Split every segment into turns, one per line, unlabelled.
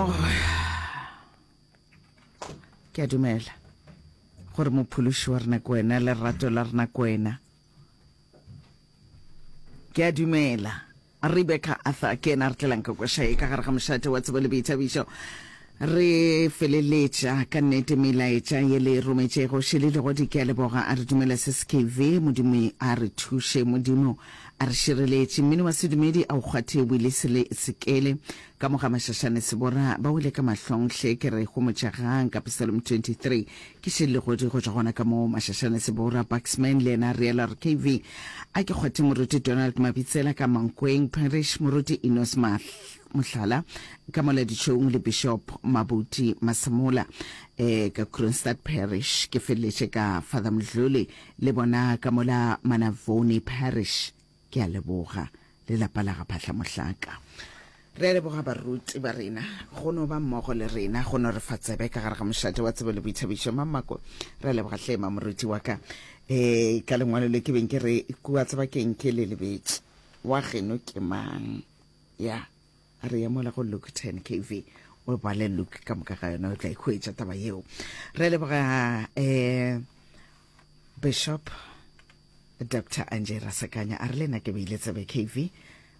Oh. Ke a dumela gore mophološi wa rena ke wena, lerato la rena ke wena. Ke a dumela. Rebecca Arthur ke yena a re tlelang ka koša ye ka gare ga mošate wa tsebo le boithabišo. Re feleletša ka nnete melaetša ye le e rometšego. Šele Legodi ke a leboga a re dumela SSKV. Modimo a re thuše. Modimo a re šireletše. Mmino wa sedumedi a o kgwathe Willie Sele Sekele ka mo ga Mašašane Sebora ba wele ka mahlong hle ke re homotšegang ka Psalm 23. Ke Šele Legodi go tšwa gona ka mo Mašašane Sebora. Bucksman le yena a realo a re KV a ke kgwathe Moruti Donald Mabitsela ka Mankweng Parish, Moruti Enos Mahl Mohlala, ka mola ditšhong le Bishop Mabuti Masemola eh, ka Kroonstad Parish. Ke feleletše ka Father Mdluli le bona ka mola Manavoni Parish. Ke a leboga le lapa la ga Phahla Mohlaka. Re a leboga baruti ba rena go no ba mmogo le rena go no re fa tsebe ka gare ga mošate wa tsebo le boithabišo. Mamako, re a leboga hle mamoruti wa ka eh, ka lengwalo le ke beng ke re kua tseba keng ke le lebetše wa geno ke mang. Ya, a re ya mola go Luke 10 KV, o bale Luke ka moka ga yona, o tla ikhwetša taba yeo. Re leboga eh, Bishop Dr. Anjay Rasekanya, a re le nna ke beile tsebe KV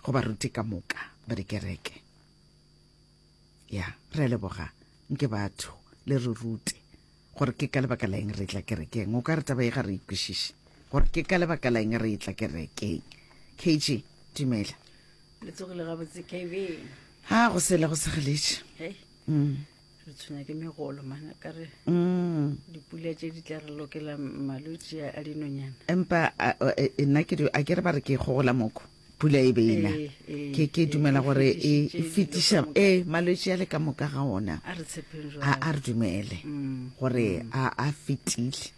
go baruti ka moka ba dikereke. Ya, re leboga nke batho le re rute gore ke ka lebaka la eng re tla kerekeng. O ka re taba ye ga re ikwešiše gore ke ka lebaka la eng re tla kerekeng. KG, dumela.
Le tsogile gabotse KB.
Ha go sele go segeletše.
Hey. Mm. Re tshwenya ke megolo mana ka re. Mm. Dipula tše di tla re lokela malwetši a dinonyana.
Empa e, nna ke a ke re ba re ke gogola moko. Pula e be ena. Eh, eh, ke ke eh, dumela gore e fetiša e malwetši a le ka moka ga ona.
A re tshepeng
jwalo. A re dumele mm. gore mm. a a fetile.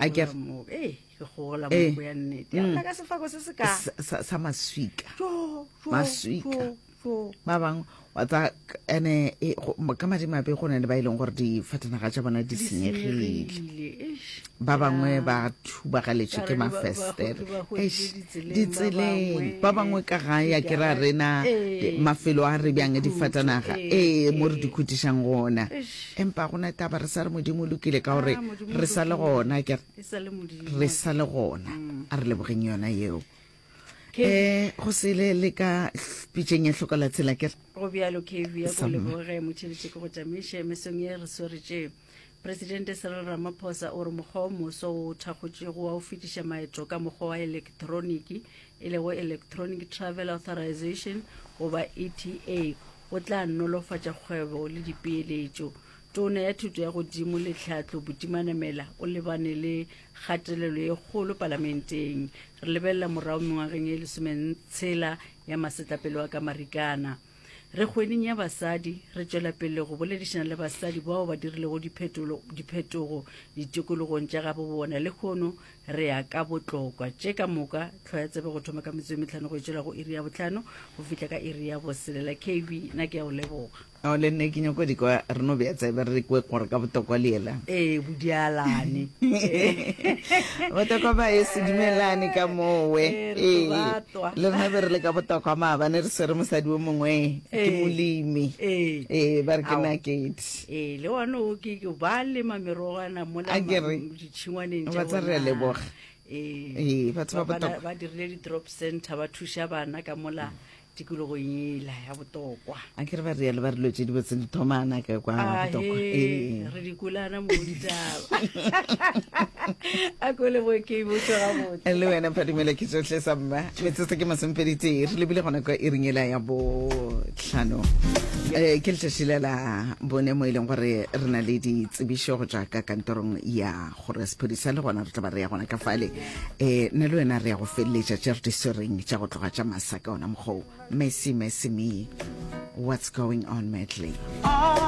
A ke re ke gola
Eh.
moko ya nnete ya
Mm.
nna ka sefako se se ka
Sa- sa sa maswika
Jo, jo,
Maswika.
jo, jo.
ba bangwe wa tsa ene e, go- ka madimabe go na le ba e leng gore difatanaga tša bona di
Di
senyegile
senyegile, eish.
ba bangwe
Ya.
ba thubagaletšwe
Ka
ke
re ba- ba-
mafestere
ba hweditše
Eish,
ditseleng, ba
ditseleng
bangwe,
ba bangwe ka gae a ke ra
digara-
rena
Ee.
mafelo a re bjang
Dikhutšo,
difatanaga
ee,
ee mo re
ee.
di khutišang gona
Eish.
empa go na taba re sa re modimo o lokile ka gore
Ah, Modimo o
re sa le
lokile.
gona ke re
E sa le Modimo.
Re sa le gona. A re lebogeng yona yeo.
Ke-
Eh, go sele le ka pitšeng ya hloka la tsela ke re.
Go bjalo KV ya go
Samma.
leboge motšheletše ke go tšamiše mesong ye re swere tše. Presidente Cyril Ramaphosa o re mokgwa o moso wo o thakgotšego wa go fetiša maeto ka mokgwa wa elektroniki e lego Electronic Travel Authorization goba ETA o tla nolofatša kgwebo le dipeeletšo. Tona ya Thuto ya Godimo le Tlhahlo Buti Manamela o lebane le kgatelelo ye kgolo palamenteng. Re lebelela morago mengwageng ye lesometshela ya masetlapelo a ka Marikana. Re kgweding ya basadi, re tšwela pele go boledišana le basadi bao ba dirilego diphetolo, diphetogo ditikologong tša gabo bona. Lehono re ya ka botlokwa. Tše ka moka, hloya tsebe go thoma ka metsotso ye mehlano go e tšwela go iri ya bohlano go fihla ka iri ya boselela. KB, nna ke a o leboga.
Ao le nne ke nyako di kwa re no bea tsebe re kwe gore ka botokwa le ela.
Ee, bodialane.
Botokwa ba e se dumelane ka mowe.
Ee, re
Ee,
tlo batwa.
le rena be re le ka botokwa maabane re swere mosadi o mongwe ke
Ee.
molemi.
Ee.
Ee, ba re ke
Ao.
nakedi.
Ee, le one o ke ke ba lema merogwana mola
A ke re.
ma- ditšhingwaneng tša
Ba tsa re a
bona.
leboga.
Ee.
Ee, batho ba
Ba- ba-
botokwa.
ba dirile di-drop center ba thuša bana ka mola tikologong yela ya botokwa.
A ke re ba rialo ba re dilo tše di botse di thomana ka kwa botokwa.
Ee, re di kulana mo ditaba. A ko le boke bo tso gabotse.
Le wena Phadimela ke tsohle sa mma. Metsotso ke masomepeditee re lebile gona kwa iring ela ya bohlano. Eh, ke letšatši le la bone mo e leng gore re na le ditsebišo go tšwa ka kantorong ya kgoro ya sephodisa le gona re tla ba re ya gona ka fale. Eh, nna le wena re ya go feleletša tše re di swereng tša go tloga tša masa ka ona mokgwa wo. Mercy, mercy me. What's going on, Medley?